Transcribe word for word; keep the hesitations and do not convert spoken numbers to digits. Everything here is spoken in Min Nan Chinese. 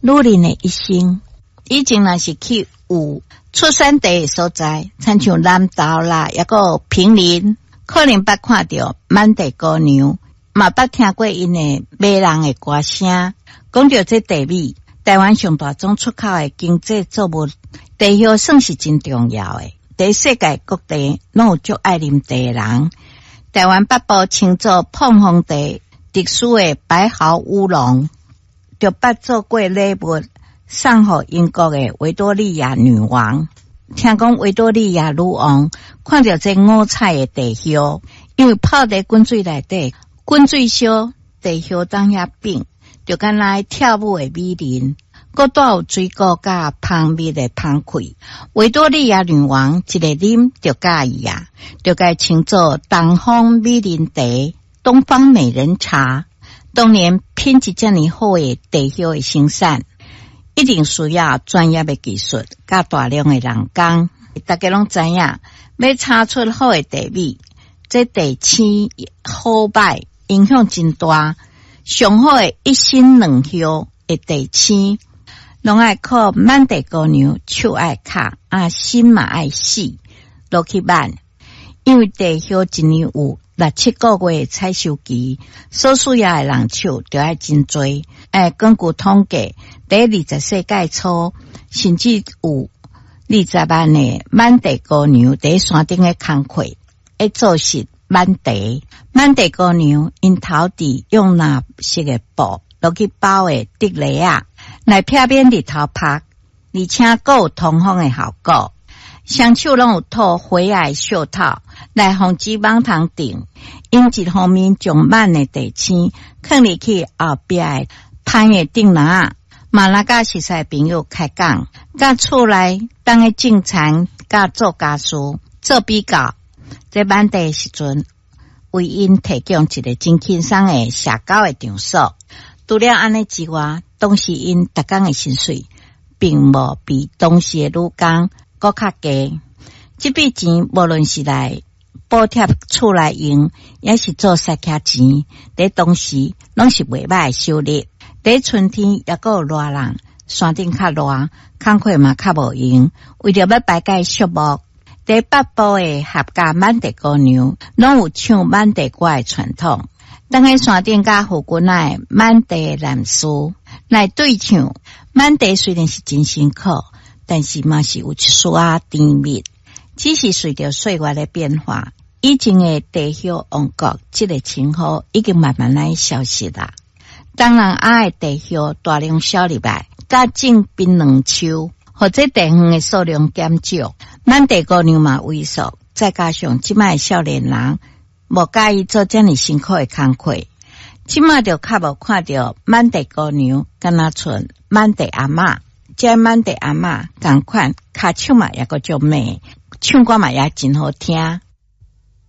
女人的一生，以前若是去有出產茶的所在，親像南投啦，抑閣有坪林，可能捌看著滿地姑娘，嘛捌聽過𪜶的迷人的歌聲。講著這茶米，台灣上大宗出口的經濟作物，茶葉算是真重要的。佇世界各地攏有足愛啉茶的人。台灣北部稱做膨風茶，特殊的白毫烏龍，就捌做過禮物送予英國的維多利亞女王。聽講維多利亞女王看著這五彩的茶葉，因為泡佇滾水內底，滾水燒，茶葉當遐變，就敢若跳舞的美人，閣帶有水果佮蜂蜜的香氣。維多利亞女王一个啉就佮意啊，就共稱做東方美人茶、東方美人茶。當然，品質遮爾好的茶葉的生產，一定需要專業的技術，佮大量的人工。大家攏知影，欲炒出好的茶米，這茶青好歹影響真大。上好的一心兩葉的茶青，攏愛靠滿地姑娘手愛巧，啊心嘛愛細落去挽。因為茶葉一年有六七個月的採收期，所需要的人手就愛真濟。欸，根據統計，佇二十世紀初，甚至有二十萬的滿地姑娘佇山頂的工課，會做實滿茶。滿地姑娘𪜶頭戴用藍色的布落去包的竹籬仔，來避免日頭曬，而且閣有通風的效果。雙手攏有套花仔的袖套，來防止蠓蟲叮。𪜶一方面將挽的茶青囥入去後壁的攀的頂籃仔，嘛來佮熟似朋友開講，佮厝內當咧種田，佮做家事做比較。這挽茶的時陣，為𪜶提供一個真輕鬆的社交的場所。除了按呢之外，當時𪜶逐工的薪水，並無比當時的女工閣較低。這筆錢無論是來補貼厝內用，抑是做捒客錢，佇當時攏是袂䆀的收入。佇春天抑閣有熱人，山頂較熱，工課嘛較無閒。為著欲排解寂寞，佇北部的客家滿地姑娘，攏有唱滿地歌的傳統。當喺山頂佮附近的滿地男士來對唱，滿地雖然是真辛苦，但是嘛是有一絲仔甜蜜。只是隨著歲月的變化，以前的茶葉王國這个稱號已經慢慢來消失啦。東南亞的茶葉大量銷入來，佮種檳榔樹，予這茶園的數量減少，滿地姑娘嘛萎縮。再加上這擺的少年人無佮意做遮爾辛苦的工課，這擺就較無看著滿地姑娘，敢若賰滿地阿嬤。這滿地阿嬤仝款，跤手嘛猶閣足美，唱歌嘛也真好聽。